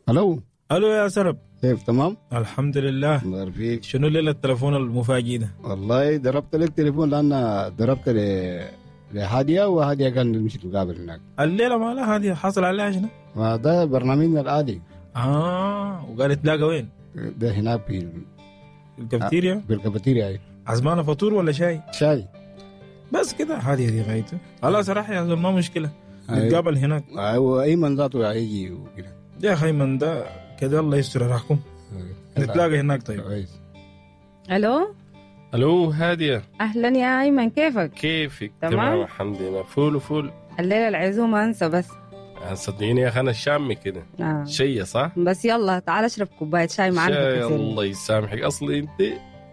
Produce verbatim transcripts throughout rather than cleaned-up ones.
الو. الو يا سرب. كيف؟ تمام؟ الحمد لله. الله فيك. شنو الليلة التليفون المفاجئ ده؟ والله ضربت لك تليفون لان ضربت ل لهاديه وهاديه قال نمشي نقابل هناك. الليلة ما لها هادية، حصل عليها شنو؟ ما ده برنامجنا العادي. اه وقال تلاقى وين؟ ده هناك في الكافيتيريا؟ في الكافيتيريا. عزمانه فطور ولا شاي؟ شاي بس كده. هادية دي غايته. خلاص راح يا زول ما مشكلة، نتقابل هناك. ايوه ايمن ذاته هيجي وكده. يا اخي ايمن ده كده الله يستر راحكم. نتلاقى هناك. طيب كويس. الو. الو هادية. اهلا يا ايمن، كيفك؟ كيفك؟ تمام تمام الحمد لله. فول وفول. الليلة العزومة انسى بس. صدقيني يا اخي انا شامي كده آه. شيء صح؟ بس يلا تعال اشرب كوباية شاي معنا. شاي الله يسامحك، اصلي انت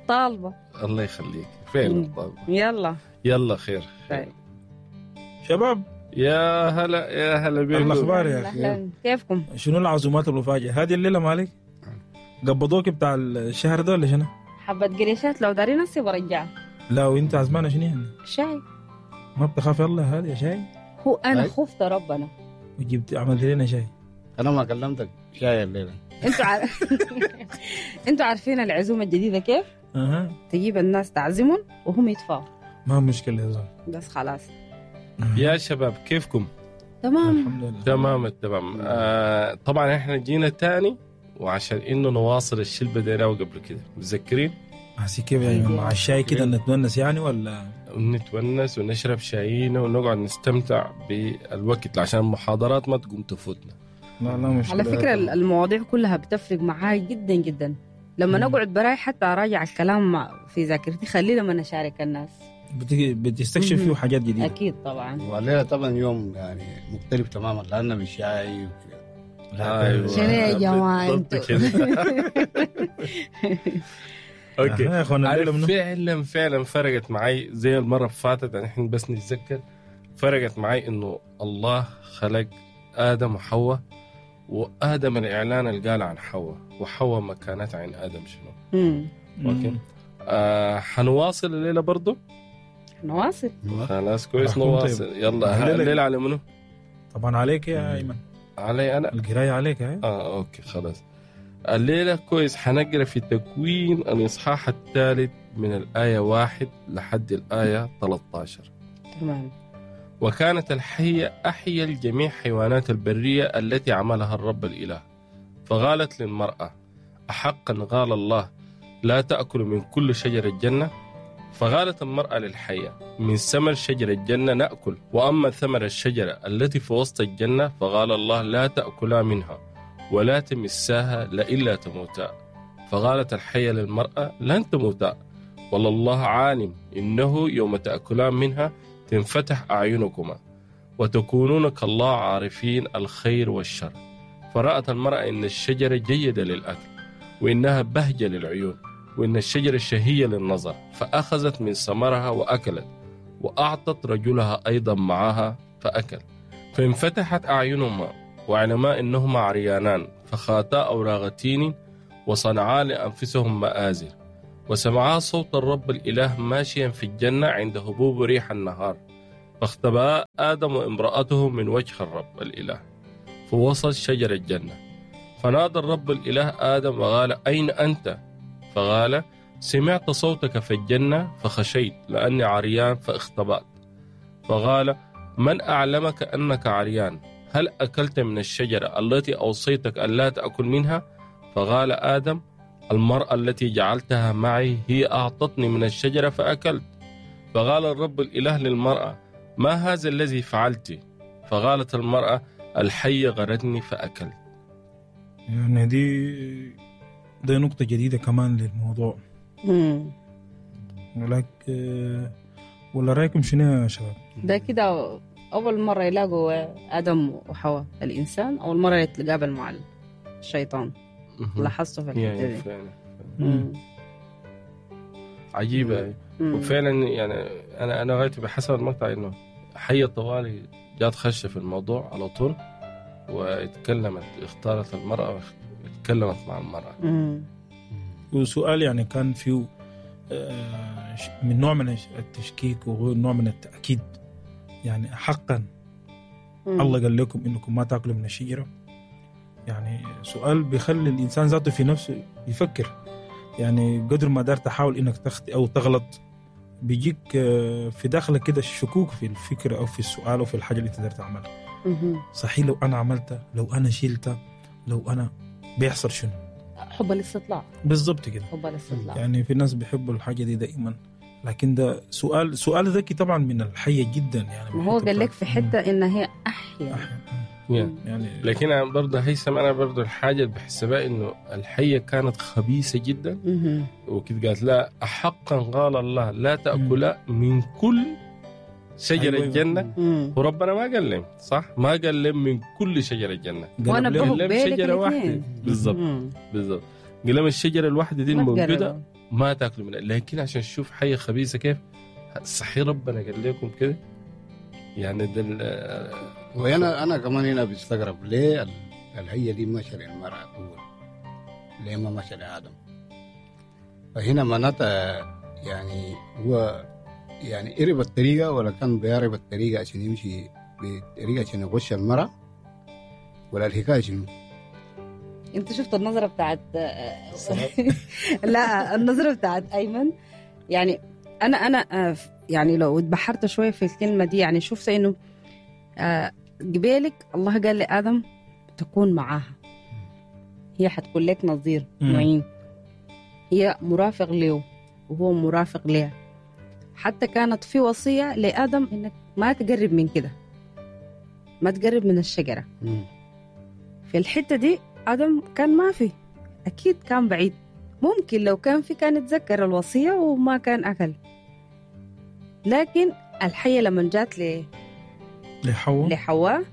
طالبه. الله يخليك فعلا طالبه. يلا يلا خير, خير. طيب. شباب يا هلا يا هلا بيكم. الاخبار يا اخي؟ كيفكم؟ شنو العزومات المفاجئة هذه الليلة؟ مالك قبضوك بتاع الشهر ده ولا شنو؟ حبة قريشات لو دارين نفسي برجعها. لا وانت عزمانه شنو يعني؟ شاي. ما بتخاف يلا هذه شاي؟ هو انا خفت ربنا وجبت عملت لنا شاي. انا ما كلمتك شاي الليلة. انتوا عار... انتوا عارفين العزومة الجديدة كيف؟ اها تجيب الناس تعزمهم وهم يدفعوا. ما مشكلة يا زلمة بس خلاص. يا شباب كيفكم؟ تمام الحمد لله. تمام التمام. آه طبعا احنا جينا تاني وعشان انه نواصل الشيء اللي بديناه قبل كده، متذكرين؟ هسي كيف يعني مع الشاي كده نتونس يعني ولا؟ نتونس ونشرب شاينا ونقعد نستمتع بالوقت عشان المحاضرات ما تقوم تفوتنا. لا لا مش على فكرة المواضيع كلها بتفرق معاي جدا جدا لما نقعد براي، حتى اراجع الكلام في ذاكرتي خليه لما نشارك الناس. بتستكشف فيه حاجات جديدة. أكيد طبعا. والليلة طبعا يوم يعني مختلف تماما لأنه بالشاي وكده. أيوة. شنو يا جماعة انتوا؟ okay يا اخوانا فعلا فعلا فرقت معي زي المرة اللي فاتت، نحن بس نتذكر فرقت معي إنه الله خلق آدم وحواء، وآدم الإعلان اللي قال عن حواء، وحواء مكانتها عن آدم شنو. okay آه حنواصل الليلة برضو؟ نواصل. خلاص كويس نواصل. طيب. يلا الليلة على منو؟ طبعا عليك يا ايمن. علي انا؟ القراية عليك. هاي اه okay خلاص. الليلة كويس حنقرا في تكوين الاصحاح الثالث من الآية واحد لحد الآية ثلاثة عشر. تمام. وكانت الحية أحيا الجميع حيوانات البرية التي عملها الرب الإله، فقالت للمرأة: أحقا قال الله لا تأكل من كل شجر الجنة؟ فقالت المرأة للحية: من ثمر شجر الجنة نأكل، وأما ثمر الشجرة التي في وسط الجنة فقال الله لا تأكلا منها ولا تمساها لئلا تموتا. فقالت الحية للمرأة: لن تموتا، والله عالم إنه يوم تأكلان منها تنفتح أعينكما وتكونون كالله عارفين الخير والشر. فرأت المرأة إن الشجرة جيدة للأكل وإنها بهجة للعيون وإن الشجرة شهية للنظر، فأخذت من ثمرها وأكلت، وأعطت رجلها أيضا معها فأكل. فانفتحت أعينهما وعلما إنهما عريانان، فخاتا أوراق تين وصنعا لأنفسهم مآزر. وسمعا صوت الرب الإله ماشيا في الجنة عند هبوب ريح النهار، فاختبأ آدم وامرأته من وجه الرب الإله في وسط شجر الجنة. فنادى الرب الإله آدم وقال: أين أنت؟ فقال: سمعت صوتك في الجنة فخشيت لأني عريان فاختبأت. فقال: من أعلمك أنك عريان؟ هل أكلت من الشجرة التي أوصيتك أن لا تأكل منها؟ فقال آدم: المرأة التي جعلتها معي هي أعطتني من الشجرة فأكلت. فقال الرب الإله للمرأة: ما هذا الذي فعلت؟ فقالت المرأة: الحية غرتني فأكلت. يعني دي دي نقطة جديدة كمان للموضوع. امم ولكن ولا رأيكم شنو يا شباب؟ ده كده أول مرة يلاقوا آدم وحواء، الإنسان أول مرة يتقابل مع الشيطان. لاحظته في الحتة دي. فعلا. عجيبة. وفعلا يعني أنا أنا غايتي بحسب المقطع إنه حية طوالي جات خشة في الموضوع على طول واتكلمت، اختارت المرأة واتكلمت مع المرأة. مم. وسؤال يعني كان فيه من نوع من التشكيك ونوع من التأكيد، يعني حقا مم. الله قال لكم إنكم ما تأكلوا من الشجرة. يعني سؤال بيخلي الإنسان ذاته في نفسه يفكر. يعني قدر ما دار تحاول إنك تخطئ أو تغلط بيجيك في داخلك كده الشكوك في الفكرة أو في السؤال أو في الحاجة اللي أنت دار تعملها. صحيح لو أنا عملتها، لو أنا شلتها، لو أنا بيحصل شنو؟ حب الاستطلاع. بالضبط كده، حب الاستطلاع. يعني في ناس بيحبوا الحاجة دي دائما، لكن ده سؤال سؤال ذكي طبعا من الحية جدا. يعني ما هو قال لك في حتة إن هي أحيا, أحيا. يعني لكن أنا برضه هيثم، أنا برضه الحاجة اللي بحسبها إنه الحية كانت خبيثة جدا، وكده قالت لا أحقا قال الله لا تأكل من كل شجر أيوة. الجنة. مم. وربنا ما قال لهم، صح؟ ما قال لهم من كل شجر الجنة، وأنا قال لهم شجرة واحدة بالضبط. بالضبط، قال لهم الشجرة الواحدة دي الموجودة ما تاكلوا منها. لكن عشان تشوف حية خبيثة كيف، صحيح ربنا قال لكم كده يعني ده. وانا انا كمان هنا بستغرب ليه الحية دي مشى للمرأة اول، ليه ما مشى لآدم؟ فهنا معناتها يعني هو يعني قرب الطريقة ولا كان بيعرف الطريقة عشان يمشي بطريقة عشان يغش المرأة، ولا الحكاية شنو؟ انت شفت النظرة بتاعت لا النظرة بتاعت أيمن. يعني أنا أنا يعني لو اتبحرت شوية في الكلمة دي، يعني شفت إنه قبالك الله قال لآدم تكون معاها، هي حتكون لك نظير معين، هي مرافق له وهو مرافق لها. حتى كانت في وصية لآدم إنك ما تقرب من كده، ما تقرب من الشجرة. في الحتة دي آدم كان ما في، أكيد كان بعيد، ممكن لو كان في كان يتذكر الوصية وما كان أكل. لكن الحية لما جات ل لحواء لحواء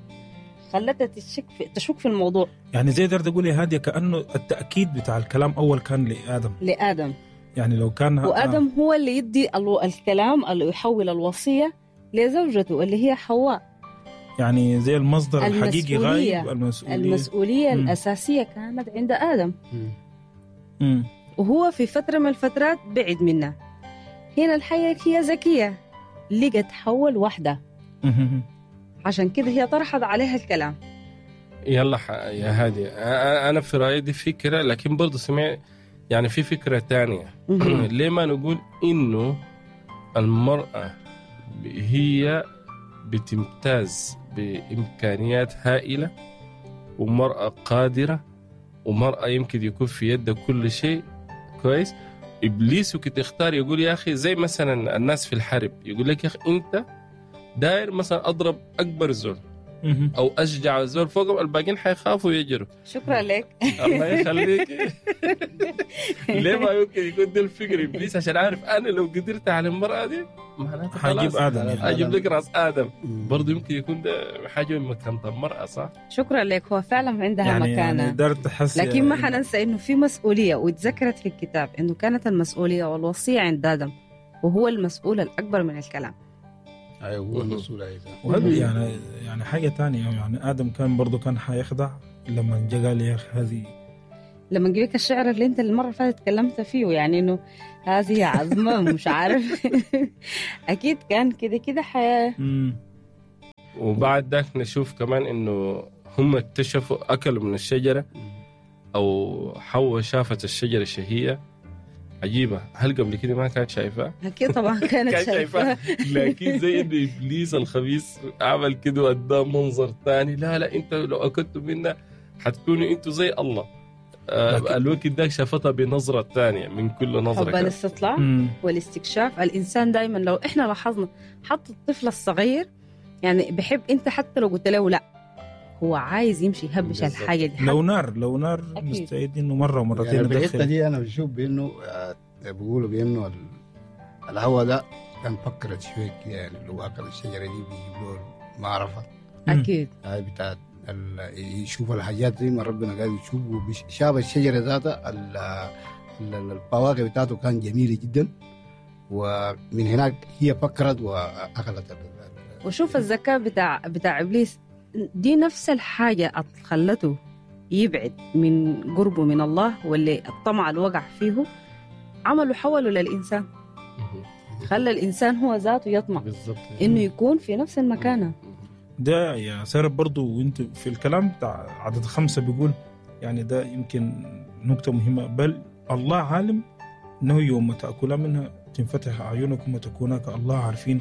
خلتها تشك في... تشك في الموضوع. يعني زي تقدر تقول يا هادية كأنه التأكيد بتاع الكلام أول كان لآدم، لآدم يعني لو كان وآدم هو اللي يدي الكلام اللي يحول الوصية لزوجته اللي هي حواء. يعني زي المصدر الحقيقي غايب، المسؤولية المسؤولية مم. الأساسية كانت عند آدم. مم. وهو في فترة من الفترات بعد منها. هنا الحية هي ذكية، لقت حواء لوحدها، عشان كده هي طرحت عليها الكلام. يلا يا هادي، أنا في رأيي دي فكرة، لكن برضو سمع يعني في فكرة تانية. ليه ما نقول إنه المرأة هي بتمتاز بإمكانيات هائلة، ومرأة قادرة، ومرأة يمكن يكون في يدها كل شيء كويس. إبليس وكت اختار يقول يا أخي، زي مثلا الناس في الحرب يقول لك يا أخي أنت داير مثلا أضرب أكبر زول أو أشجع زول فوق، الباقيين حيخافوا ويجروا. شكرا لك. الله يخليك. ليه ما يمكن يكون ده الفكر إبليس؟ عشان عارف أنا لو قدرت على المرأة دي معناته حجيب آدم، يعني أجيب لك راس آدم. برضه يمكن يكون ده حاجة من مكانة المرأة، صح؟ شكرا لك، هو فعلا عندها يعني مكانة، يعني تحس، لكن ما حننسى إنه في مسؤولية، وتذكرت في الكتاب إنه كانت المسؤولية والوصية عند آدم، وهو المسؤول الأكبر من الكلام. ايوه هو المسؤول. ايضا وهذا يعني يعني حاجة ثانية، يعني ادم كان برضه كان حيخدع لما جا قال يا اخي هذه، لما جيك الشعر اللي انت المرة اللي فاتت تكلمت فيه، يعني انه هذه عظمه مش عارف. اكيد كان كده كده حياة. وبعد ذاك نشوف كمان انه هم اكتشفوا اكلوا من الشجرة، او حواء شافت الشجرة الشهية عجيبة. هل قبل كده ما كانت شايفة؟ أكيد طبعا كانت شايفة. لكن زي إنه إبليس الخبيث عمل كده وأداه منظر تاني. لا لا أنت لو أكلتوا منا حتكونوا أنتوا زي الله. آه الوقت ده شافتها بنظرة تانية من كل نظرة. حب الاستطلاع والاستكشاف. الإنسان دايما لو إحنا لاحظنا حتى الطفل الصغير يعني بحب، أنت حتى لو قلت له لا هو عايز يمشي يهبش الحاجة دي. لو نار لو نار مستعد إنه مرة ومرتين. يعني بالحتة دي أنا بشوف بإنه بيقولوا بإنه الهواء ده كان فكرت شوية كده، يعني لو أكل الشجرة دي بيجيب له معرفة. أكيد. هاي بتاعت يشوف الحاجات زي ما ربنا قال يشوف، وشاف الشجرة ذاتها الفواكه بتاعته كان جميلة جدا، ومن هناك هي فكرت وأكلت. وشوف الذكاء بتاع بتاع إبليس دي، نفس الحاجة خلته يبعد من قربه من الله، واللي الطمع اللي وقع فيه عملوا حوله للإنسان، خلى الإنسان هو ذاته يطمع إنه يكون في نفس المكانة. ده يا سارة برضو وانت في الكلام بتاع عدد خمسة بيقول يعني ده يمكن نقطة مهمة، بل الله عالم انه يوم تأكلا منها تنفتح اعينكم وتكونا كالله عارفين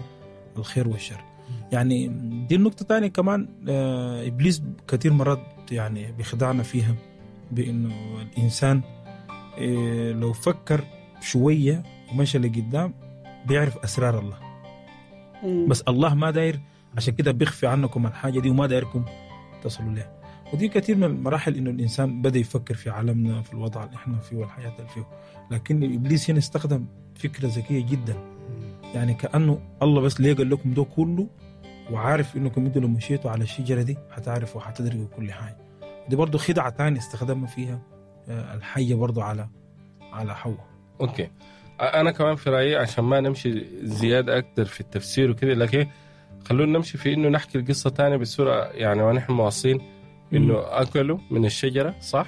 الخير والشر. يعني دي النقطة الثانية كمان، آه إبليس كثير مرات يعني بيخدعنا فيها بأنه الإنسان آه لو فكر شوية ومشى لقدام بيعرف أسرار الله. مم. بس الله ما داير، عشان كده بيخفي عنكم الحاجة دي وما دايركم تصلوا لها. ودي كثير من المراحل إنه الإنسان بدأ يفكر في عالمنا، في الوضع اللي إحنا فيه والحياة اللي فيه. لكن إبليس هنا استخدم فكرة ذكية جدا، يعني كأنه الله بس ليه قال لكم ده كله وعارف إنكم انتوا لو مشيتوا على الشجرة دي هتعرفوا وهتدركوا كل حاجة. دي برضو خدعة تانية استخدمها فيها الحية برضو على على حواء. okay، أنا كمان في رأيي عشان ما نمشي زيادة أكتر في التفسير وكده، لكن خلونا نمشي في إنه نحكي القصة تانية بسرعة. يعني ونحن مواصلين إنه أكلوا من الشجرة، صح؟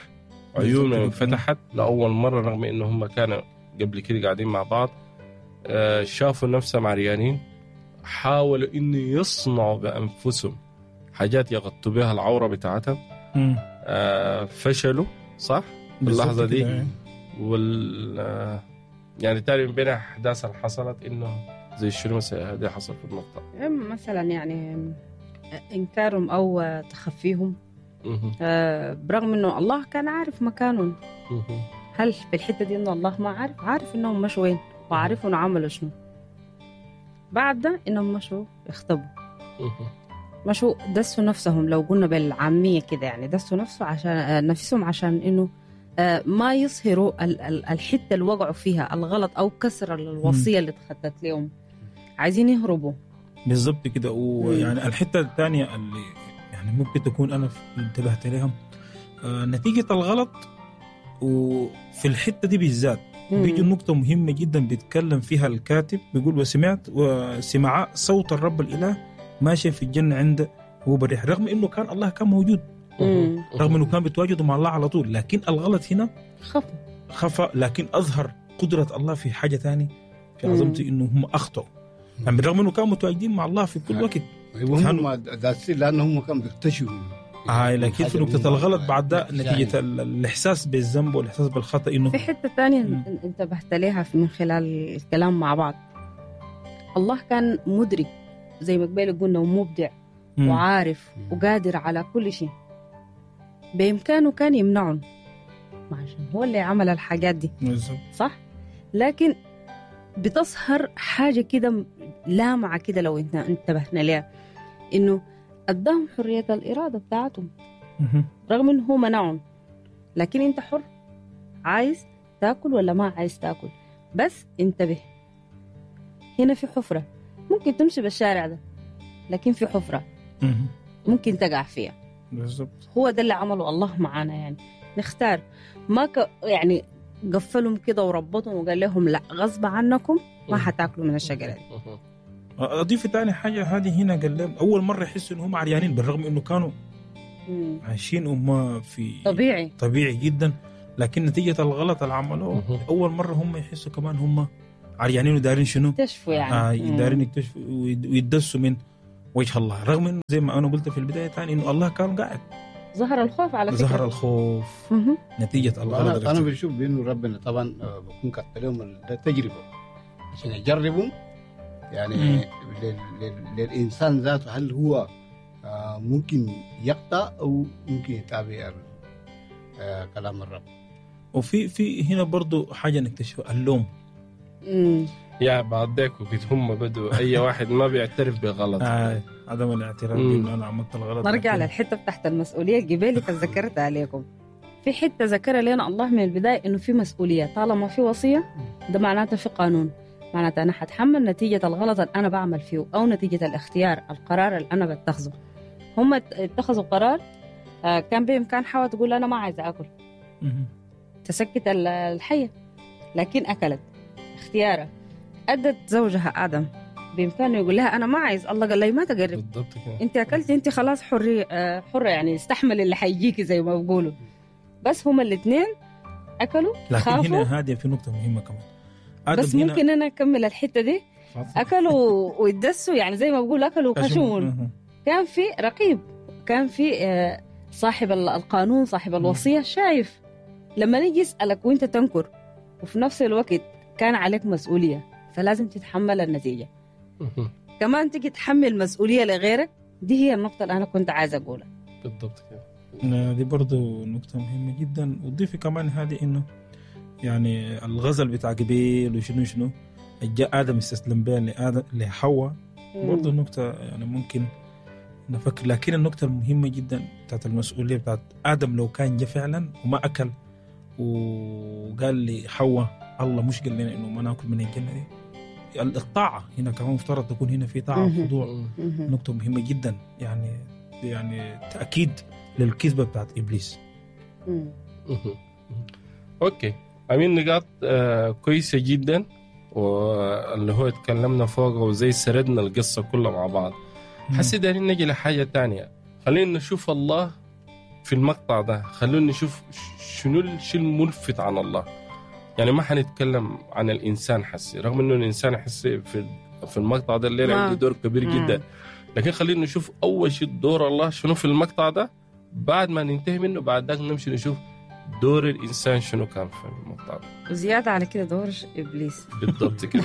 عيونهم انفتحت لأول مرة رغم إنه هم كانوا قبل كده قاعدين مع بعض. شافوا نفسهم عريانين، حاولوا إنه يصنعوا بأنفسهم حاجات يغطوا بها العورة بتاعتهم. آه فشلوا، صح؟ في اللحظة دي وال يعني تاني من بين أحداث اللي حصلت إنه زي شنو مثلا هذه حصل في النقطة مثلا، يعني إنكارهم أو تخفيهم، آه برغم إنه الله كان عارف مكانهم. هل في الحتة دي إنه الله ما عارف؟ عارف إنهم مشوا وين وعارف إنه عملوا شنو. بعد ده إنهم مشوا اختبوا، مشوا دسوا نفسهم، لو قلنا بالعامية كده يعني دسوا نفسه عشان نفسهم، عشان إنه ما يظهروا الحتة اللي وقعوا فيها الغلط أو كسر الوصية اللي اتخطت لهم، عايزين يهربوا. بالضبط كده. ويعني الحتة الثانية اللي يعني ممكن تكون أنا انتبهت لها، نتيجة الغلط وفي الحتة دي بالذات بيجي نقطة مهمة جدا بيتكلم فيها الكاتب، بيقول وسمعت وسمع صوت الرب الإله ماشي في الجنة عند هو بريح، رغم إنه كان الله كان موجود، مم. رغم إنه كان بيتواجد مع الله على طول، لكن الغلط هنا خفى خفى، لكن أظهر قدرة الله في حاجة تانية في عظمته، إنه هم أخطأوا يعني بالرغم إنه كانوا متواجدين مع الله في كل وقت. هم داسين لأنهم كانوا بيكتشفوا. آه لكن في نقطة الغلط بعد ده نتيجة الإحساس بالذنب والإحساس بالخطأ. إنه في حتة ثانية انتبهت لها من خلال الكلام مع بعض، الله كان مدرك زي ما قبل قلنا، ومبدع وعارف وقادر على كل شيء، بإمكانه كان يمنعهم عشان هو اللي عمل الحاجات دي، صح؟ لكن بتظهر حاجة كده لامعة كده لو انت انتبهنا لها، إنه أداهم حرية الإرادة بتاعتهم رغم إنه هو منعهم، لكن أنت حر، عايز تاكل ولا ما عايز تاكل، بس انتبه هنا في حفرة، ممكن تمشي بالشارع ده لكن في حفرة ممكن تقع فيها. بالضبط. هو ده اللي عمله الله معانا، يعني نختار، ما ك... يعني قفلهم كده وربطهم وقال لهم لا غصب عنكم ما حتاكلوا من الشجرة دي. أضيف تاني حاجة هذه هنا، قال لهم أول مرة يحسوا إنهم عريانين بالرغم إنه كانوا عايشين وما في طبيعي طبيعي جدا، لكن نتيجة الغلط اللي عملوه أول مرة هم يحسوا كمان هم عريانين ودارين شنو؟ يكتشفوا يعني آه دارين يكتشفوا ويدسوا من وجه الله، رغم إنه زي ما أنا قلت في البداية تاني إنه الله كان قاعد. ظهر الخوف على فكرة، ظهر الخوف مم. نتيجة الغلط. أنا, أنا بشوف بإنه ربنا طبعا بكون كتب لهم التجربة عشان يجربوا يعني لل لل للإنسان ذاته، هل هو ممكن يقطع أو ممكن يتابع كلام الرب. وفي في هنا برضو حاجة نكتشفها، اللوم. مم. يا بعد ذاك وقت هم بدوا أي واحد ما بيعترف بغلط. آه عدم الاعتراف بأنه أنا عملت الغلط. نرجع للحتة تحت المسؤولية الجبالي تذكرت عليكم. في حتة ذكرها لنا الله من البداية إنه في مسؤولية، طالما في وصية ده معناته في قانون، معناته أنا حتحمل نتيجة الغلط اللي أنا بعمل فيه أو نتيجة الاختيار القرار اللي أنا بتخذه. هم اتخذوا قرار كان بإمكان حواء تقول أنا ما عايزة أكل، تسكت الحية، لكن أكلت اختيارها. أدت زوجها آدم بإمكانه يقول لها أنا ما عايز، الله قال لي ما تقرب، بالضبط كده، أنت أكلتي أنت خلاص حرية، حرة يعني، استحمل اللي حيجيكي زي ما بيقولوا. بس هما الاثنين أكلوا لكن خافوا. هنا هادية في نقطة مهمة كمان، بس ممكن أنا أكمل الحتة دي. أكلوا ويدسوا يعني زي ما بقول أكلوا خشون. كان في رقيب، كان في آه، صاحب القانون، صاحب الوصية شايف. لما نيجي يسألك وانت تنكر، وفي نفس الوقت كان عليك مسؤولية، فلازم تتحمل النتيجة. كمان تيجي تحمل مسؤولية لغيرك، دي هي النقطة اللي أنا كنت عايزة أقولها. بالضبط كده. دي برضو نقطة مهمة جدا. وضيفي كمان هذه إنه يعني الغزل بتاع قبيل وشنو شنو جاء آدم استسلم بها لآدم لحواء، برضو نقطة يعني ممكن نفكر. لكن النقطة المهمة جدا بتاعت المسؤولية بتاعت آدم، لو كان جا فعلا وما أكل وقال لي حواء الله مش قال لنا إنه ما ناكل من الجنة دي، الطاعة هنا كمان مفترض تكون هنا في طاعة وخضوع. نقطة مهمة جدا يعني يعني تأكيد للكذبة بتاعت إبليس. أوكي أمين، نقاط آه كويسة جدا، واللي هو اتكلمنا فوقه وزي سردنا القصة كلها مع بعض. حسي دارين نجي لحاجة تانية، خلينا نشوف الله في المقطع ده، خلونا نشوف شنو الشيء الملفت عن الله. يعني ما حنتكلم عن الإنسان حسي، رغم إنه الإنسان حسي في في المقطع ده الليلة عنده دور كبير مم. جدا، لكن خلينا نشوف أول شيء دور الله شنو في المقطع ده، بعد ما ننتهي منه بعد ذاك نمشي نشوف دور الإنسان شنو كان في المقطع ده، وزيادة على كده دور إبليس. بالضبط كده.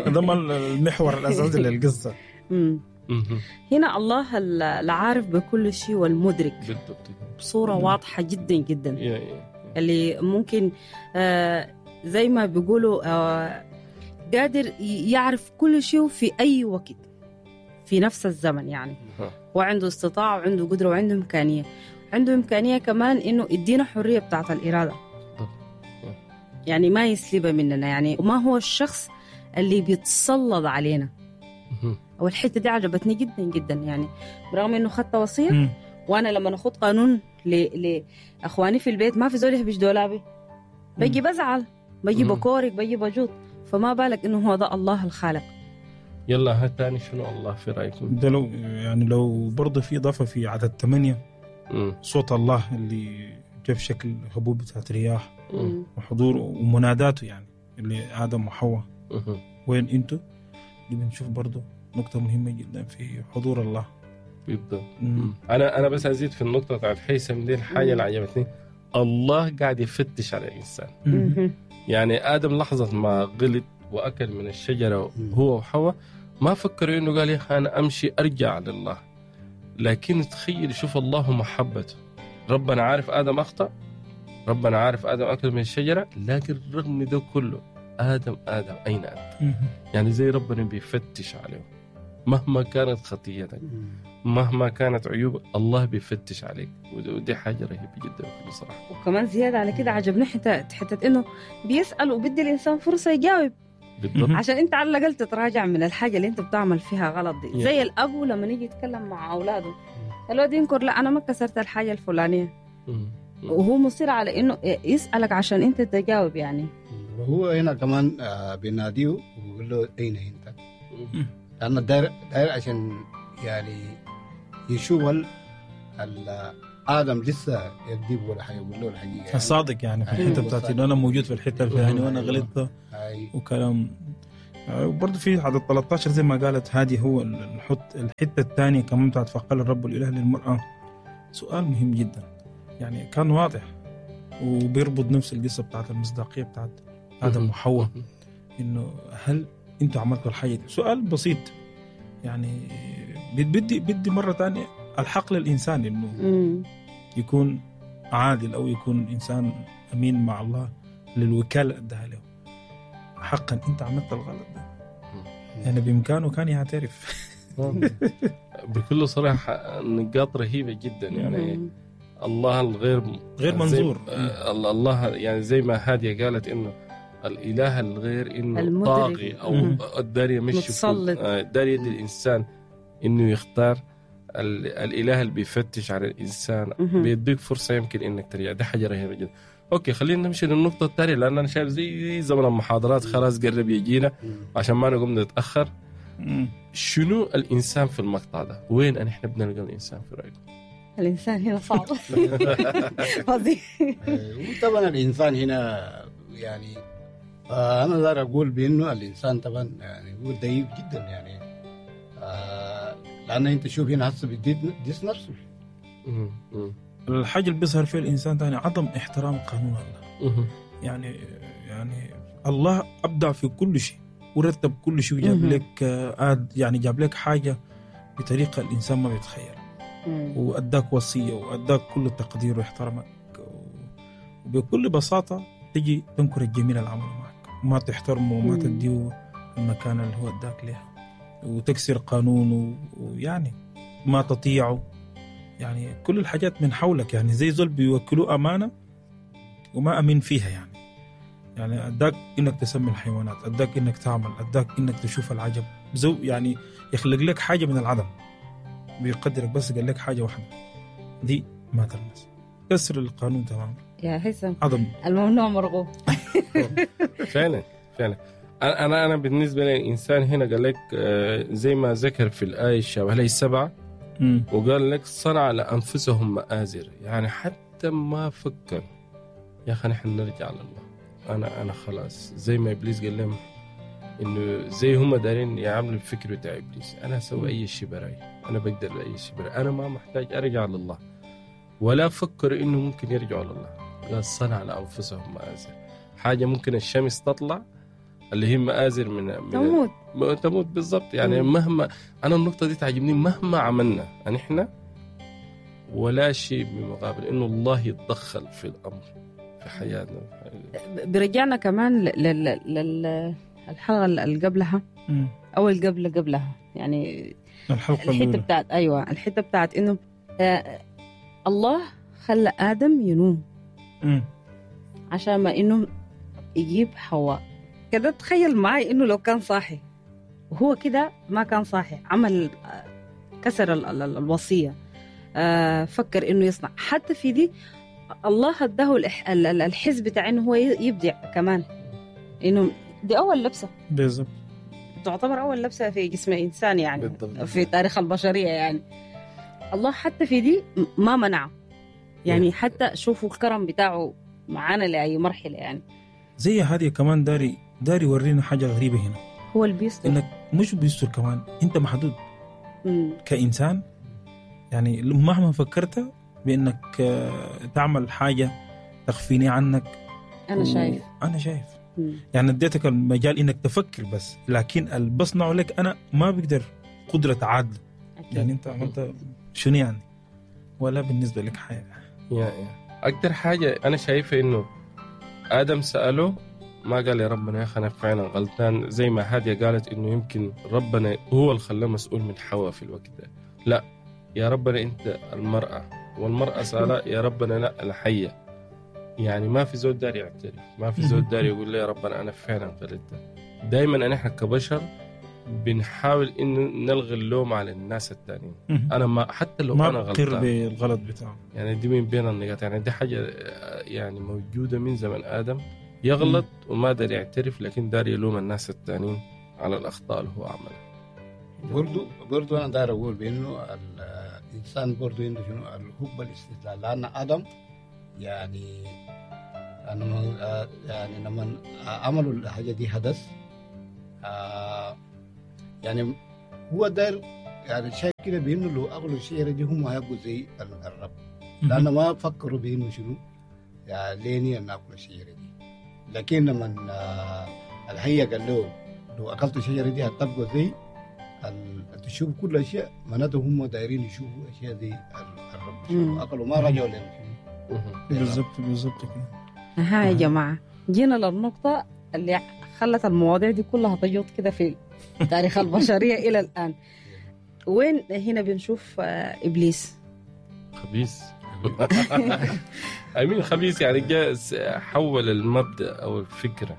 ده المحور الأساسي للقصة. هنا الله العارف بكل شيء والمدرك بالضبط بصورة واضحة جدا جدا، اللي ممكن آه زي ما بيقولوا آه قادر يعرف كل شيء في أي وقت في نفس الزمن. يعني وعنده استطاعة وعنده قدرة وعنده إمكانية، عنده إمكانية كمان إنه يدينا حرية بتاعت الإرادة، يعني ما يسلبها مننا. يعني ما هو الشخص اللي بيتسلط علينا. والحتة دي عجبتني جدا جدا، يعني برغم إنه خدت وصية، وأنا لما ناخد قانون ل... لأخواني في البيت ما في زول يهبش دولابي، بيجي بزعل، بيجي بكورك، بيجي بجوط، فما بالك إنه هو ده الله الخالق. يلا هات تاني شنو الله في رأيكم؟ ده لو يعني لو برضه في إضافة في عدد ثمانية، صوت الله اللي جاء في شكل هبوب بتاعت رياح وحضوره ومناداته، يعني اللي آدم وحواء وين انتوا، دي بنشوف برضه نقطة مهمة جدا في حضور الله. بالضبط. أنا أنا بس أزيد في النقطة بتاعت هيثم دي، الحاجة اللي عجبتني الله قاعد يفتش على الإنسان. مم. يعني آدم لحظة ما غلط وأكل من الشجرة هو وحواء ما فكروا إنه قال يا أخي أنا أمشي أرجع لله، لكن تخيل شوف الله محبته. ربنا عارف آدم أخطأ، ربنا عارف آدم أكل من الشجرة، لكن رغم ده كله آدم آدم أين أنت؟ يعني زي ربنا بيفتش عليه مهما كانت خطيتك، مهما كانت عيوبك، الله بيفتش عليك، ودي حاجة رهيبة جدا بصراحة. وكمان زيادة على كده عجبني حتى حتى إنه بيسأل وبدي الإنسان فرصة يجاوب. بالضبط. عشان أنت على الأقل تتراجع من الحاجة اللي أنت بتعمل فيها غلط دي. زي الأب لما يجي يتكلم مع أولاده، الولد ينكر لا أنا ما كسرت الحاجة الفلانية، وهو مصر على إنه يسألك عشان أنت تجاوب. يعني وهو هنا كمان بيناديه وبيقول له أين أنت؟ لأنه داير داير عشان يعني يشوف آدم لسه يكذب ولا حيقول له الحقيقة، يعني الصادق يعني في الحتة بتاعتي إنه أنا موجود في الحتة الفلانية وأنا غلطت وكلام. وبرضه في عدد ثلاثة عشر زي ما قالت هادي، هو الحط الحتة الثانية كمان بتاعت فقال الرب الإله للمرأة، سؤال مهم جدا يعني كان واضح وبيربط نفس القصة بتاعت المصداقية بتاعت آدم وحواء، إنه هل أنتوا عملتوا الحاجة دي؟ سؤال بسيط يعني بدي بدي مرة تانية الحق للإنسان إنه يكون عادل أو يكون إنسان أمين مع الله للوكالة أدها له. حقا أنت عملت الغلط ده، يعني بإمكانه كان يعترف. بكل صراحة نقاط رهيبة جدا يعني. الله الغير غير منظور، الله يعني زي ما هادية قالت إنه الإله الغير إنه طاغي أو الدارية مش متسلط، دارية الإنسان إنه يختار. الإله اللي بيفتش على الإنسان بيديك فرصة يمكن إنك ترجع، دي حاجة رهيبة جدا. okay خلينا نمشي للنقطة الثانية، لأن أنا شايف زي زمن المحاضرات خلاص قرب يجينا عشان ما نقوم نتأخر. شنو الإنسان في المقطع ده؟ وين نحن بنلقى الإنسان في رأيكم؟ الإنسان هنا صعب فظيع. وطبعا الإنسان هنا يعني أنا دار أقول بأنه الإنسان طبعا يعني هو ضعيف جدا يعني. آه لان انت شوف هنا هسه بيديس نفسه. مم. مم. الحاجة اللي بيظهر فيها الانسان ثاني عدم احترام قانون الله. مم. يعني يعني الله ابدع في كل شيء ورتب كل شيء وجاب مهم. لك آه، آد يعني جاب لك حاجة بطريقة الانسان ما بيتخيلها، مم. واداك وصية واداك كل التقدير واحترامك، وبكل بساطة تجي تنكر الجميل اللي عمله معك، ما تحترمه وما مم. تديه المكان اللي هو اداك لها، وتكسر قانونه ويعني ما تطيعه. يعني كل الحاجات من حولك، يعني زي زول بيوكلوه امانه وما امين فيها. يعني يعني اداك انك تسمي الحيوانات، اداك انك تعمل، اداك انك تشوف العجب، زو يعني يخلق لك حاجة من العدم، بيقدرك، بس قال لك حاجة واحدة دي ما تلمس، كسر القانون تماما، يا هيثم عدم. الممنوع مرغوب. فعلا فعلا. انا انا انا بالنسبة لي الانسان هنا قال لك آه، زي ما ذكر في الايه الشابة لي سبعة، مم. وقال لك صنع لانفسهم مآزر، يعني حتى ما فكر يا اخي نحن نرجع لله. انا انا خلاص زي ما ابليس قال لهم انه زي هم دارين يعملوا الفكر بتاع ابليس، انا اسوي اي شيء براي، انا بقدر لاي شيء براي، انا ما محتاج ارجع لله، ولا فكر انه ممكن يرجعوا لله. قال صنع لانفسهم مآزر، حاجة ممكن الشمس تطلع اللي هي مآزر من, من تموت ما تموت بالضبط. يعني مم. مهما انا النقطة دي تعجبني، مهما عملنا نحن ولا شيء بمقابل انه الله يتدخل في الامر في حياتنا. برجعنا كمان لل... لل... الحلقة اللي قبلها مم. او اللي قبل قبلها، يعني الحلقة الحتة الاولى بتاعت ايوه الحتة بتاعت انه آه الله خلى ادم ينوم مم. عشان ما انه يجيب حواء كده. تخيل معي انه لو كان صاحي، وهو كده ما كان صاحي، عمل آه، كسر ال- ال- الوصية، آه، فكر انه يصنع. حتى في دي الله اداه الإح- ال- ال- الحس بتاع انه هو ي- يبدع كمان، انه دي اول لبسه، بالضبط تعتبر اول لبسه في جسم انسان يعني بالضبط. في تاريخ البشرية. يعني الله حتى في دي ما منعه، يعني حتى شوفوا الكرم بتاعه معانا لاي مرحلة. يعني زي هذه كمان داري داري يورينا حاجة غريبة هنا، هو اللي بيستر. انك مش بيستر كمان، انت محدود مم. كانسان. يعني مهما فكرت بانك آه، تعمل حاجة تخفيني عنك، انا شايف. انا شايف مم. يعني اديتك المجال انك تفكر بس، لكن اللي بصنعه لك انا ما بقدر قدره عادلة. أكيد. يعني انت عملت شنو يعني، ولا بالنسبة لك حاجة. يا يا اكثر حاجة انا شايفه انه ادم ساله ما قال يا ربنا يا اخي انا فعلا غلطان، زي ما هادية قالت انه يمكن ربنا هو اللي خلاه مسؤول من حواء في الوقت ده. لا يا ربنا انت المراة، والمراة سالها يا ربنا لا الحية. يعني ما في زول داري يعترف، ما في زول داري يقول لي يا ربنا انا فعلا غلطت. دائما نحن كبشر بنحاول انه نلغي اللوم على الناس الثانيين. انا ما حتى لو ما انا بقر غلطان بالغلط بتاعه. يعني دي من بين النقاط، يعني دي حاجة آه، يعني موجودة من زمن آدم، يغلط وما داري يعترف، لكن داري يلوم الناس التانيين على الأخطاء اللي هو عملها. برضو برضو انا داير اقول بانه الانسان برضو عنده شنو الحب الاستدلال، لان ادم يعني انا ما- يعني لما عملوا الحاجة دي حدث، آه، يعني هو داير يعني شايف كده بانه لو اكلوا الشجرة دي هم هيبقوا زي ال- الرب، لان ما فكروا بانه شنو يعني ليه ناكل الشجرة دي. لكن لما آه، الحية قال له لو اكلت الشجرة دي هتبقوا زي ال- تشوف كل اشياء، معناته هم دايرين يشوفوا اشياء زي ال- الرب. مم. شوفوا اكلوا ما رجعوا لنا شنو بالضبط بالضبط كده. ها يا جماعة، جينا للنقطة اللي خلت المواضيع دي كلها تجوط كده في تاريخ البشرية إلى الآن. وين هنا بنشوف آه، إبليس؟ خبيث. أمين خبيث، يعني جاء س- حول المبدأ أو الفكرة.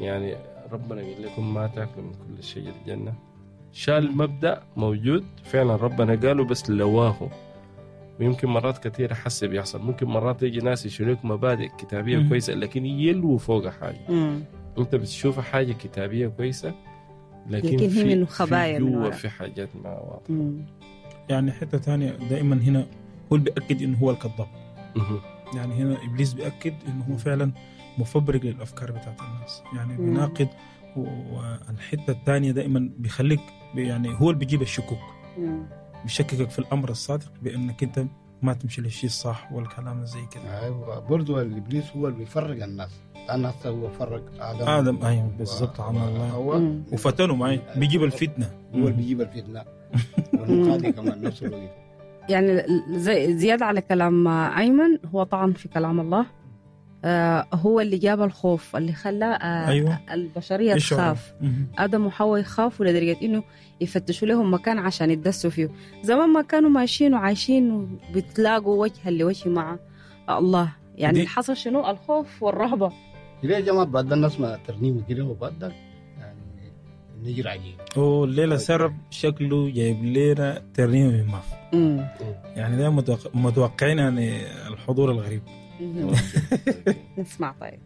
يعني ربنا قال لكم ما تاكلوا من كل شجر الجنة، شال مبدأ موجود فعلا ربنا قاله بس لواه. ويمكن مرات كثيرة حس بيحصل، ممكن مرات يجي ناس يشيلوك مبادئ كتابية مم. كويسة لكن يلووا فوق حاجة. مم. انت بتشوف حاجة كتابيه كويسة لكن, لكن هي في من خبايا في من جوا ورا. في حاجات ما واضحة. مم. يعني حتة ثانية دائما هنا هو اللي بياكد انه هو الكذاب. مهم. يعني هنا ابليس بياكد انه هو فعلا مفبرك للافكار بتاعت الناس، يعني مم. بيناقض. والحتة الثانية دائما بيخليك يعني هو اللي بيجيب الشكوك. مم. بيشككك في الامر الصادق بانك انت ما تمشي للشيء الصح والكلام زي كده. ايوه برضه الابليس هو اللي بيفرق الناس، لان هسه هو فرق ادم ادم ايوه بالضبط عن الله هو مم. وفتنة معي بيجيب الفتنة. هو اللي بيجيب الفتنة والمقاضي كمان نفس الوقت. يعني زي زيادة على كلام أيمن، هو طعن في كلام الله. آه هو اللي جاب الخوف اللي خلى آه أيوة. البشرية يشعر. تخاف. مم. آدم وحواء يخافوا لدرجة إنه يفتشوا لهم مكان عشان يتدسوا فيه. زمان ما كانوا ماشيين وعايشين وبتلاقوا وجها لوجه مع الله، يعني دي- اللي حصل شنو؟ الخوف والرهبة. ليه يا جماعة بعد الناس ما ترنيمة كده وبعد يعني نجر عجيب. هو الليلة سرب شكله جايب لنا ترنيمة من ماف. مم. يعني ده متوقع متوقعين يعني الحضور الغريب. مم. نسمع طيب.